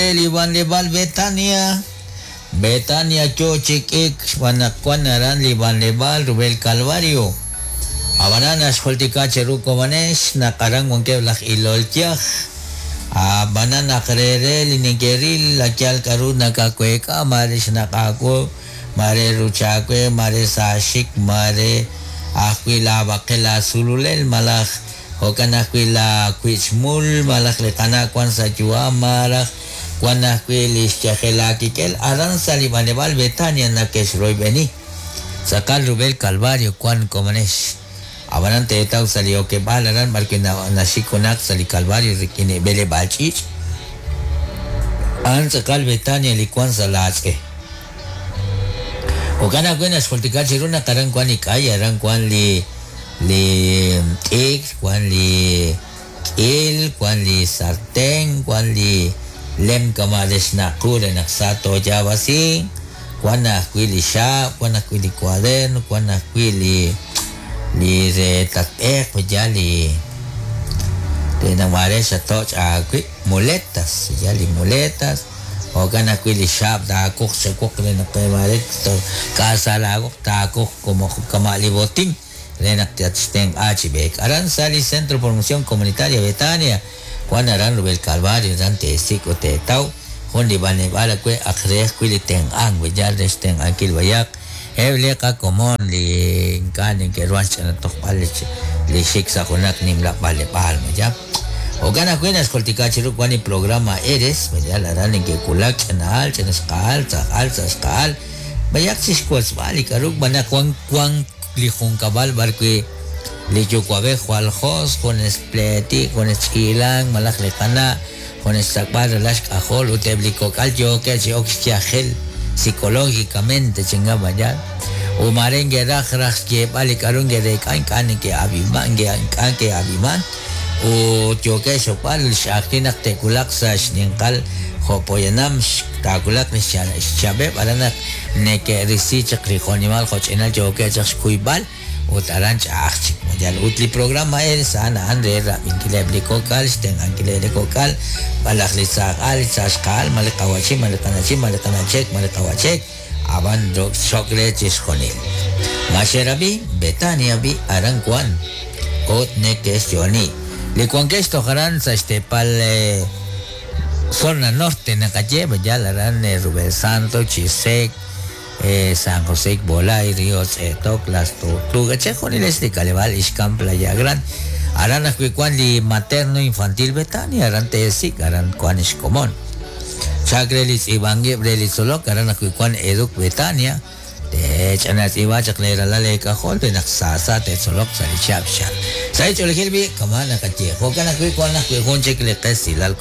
Li b'anleb'aal Betania. Betania yo chi k'iik xb'aan naq wank aran li b'anleb'aal rub'el Calvario. Ab'anan naxjultika cheru komonex naq aran wankeb' laj ilol yaj. Ab'anan naq re re li neke'ril yal k'aru nakaweek'a, maare xnaq' aawu, maare ruch aawe, maare sa aaxik, maare ajwi' laab'aqel laasululel malaj jo'kan ajwi' laawich'mul malaj li qana' wank sa' yu'am malaj wank ajwi' li xyajel laakik'el aran sa' li b'anleb'aal Betania nake'xroyb'eni. Tz'aqal rub'el Calvario wank komonex. Ab'anan teetaw sa' li okeb'aal aran b'arwi' naxik junaq sa' li Calvario rik'in li b'eleb'aal ch'iich'. A'an tz'aqal Betania li wank sa' laatz'e. Jo'kan ajwi' naxjultika chiru naq aran wank li k'ay, aran wank li li t'ikr, wank li k'il, wank li sarten, wank li lem kama' re xnaq' qu re naq sa tooyaab'asinq, wank ajwi' li xaab', wank ajwi' li cuaderno, wank ajwi' li li re tatb'eeq yal li re naq maare xatoch' aawib', muletas, yal li muletas. Jo'kan ajwi' li xaab' taakuq chawoq re naq maare k'aasa laawoq taakuq kama' li botín re naq tatxtenq'a chi b'eek. Aran sa' li Centro Promoción Comunitaria Betania wank aran rub'el Calvario aran teesik' ut teetaw jun li b'anleb'aal awe' ak re ajwi' li tenq'ank yal re xtenq'ankil b'ayaq eb' li qakomon li ink'a' neke'ruhan xch'ina tojb'al li xik sa' junaq nimla b'anleb'aal mayab'. Jo'kan ajwi' naxjultika chiru wank li programa Eres yal aran neke'wulak ch'ina'al, ch'inxqa'al, tz'ajal, tz'axqa'al b'ayaq chi xwotzb'al li k'aru b'an naq wank wank li junkab'al b'arwi' li yuwa'b'ej jwal jos, junes pleetik, junes ch'iilank malaj li qana', junes xsak'b'al ralal xk'ajol ut eb' li kok'al yookeb' chi ok xyajel psicológicamente chinga b'ayaq. Ut maare nke'raj raj xyeeb'al li k'aru nke'reek'a ink'a' neke'ab'iman ink'a' ke'ab'iman ut yookeb' xxokb'al x'ajwi' naq te'wulaq sa' xninqal jo' poyanam taawulaq li xchab'eb' aran naq neke'risi chaq li jo'nimal jo'ch'inal yookeb' chaq xkuyb'al ut aran ch'a'aj chik yal ut li programa Eres a'an a'an re rab'inkileb' li kok'al, xtenq'ankileb' li kok'al, malaj li tz'ajal, li tz'axqa'al, malaj li qawa'chin, malaj li qana'chin, malaj li qana'chek, malaj li qawa'chek, ab'an xok re chixjunil. Maxerab'i Betania b'i aran wank ut neke'xyo'oni. Li wankex toj aran sa' xteepal zona norte naqaye yal aran rub'el Santo, Chisec, San José Ikbolay, Río Tz'etok, Las Tortugas, chixjunilex li k'aleb'aal Ixkan Playa Grande. Aran ajwi' wank li materno infantil Betania, aran teesik', aran wank xkomon. Chak re li tz'iib'ankib' re li tzolok, aran ajwi' wank Educ Betania, teech'ana tz'iib'a chaq leeralal leek'ajol re naq saasa te'tzoloq sa' li chihab' xchal. Sa' li ch'oolejil b'i' kama' naqaye, jo'kan ajwi' wank ajwi' jun chik li qesilal.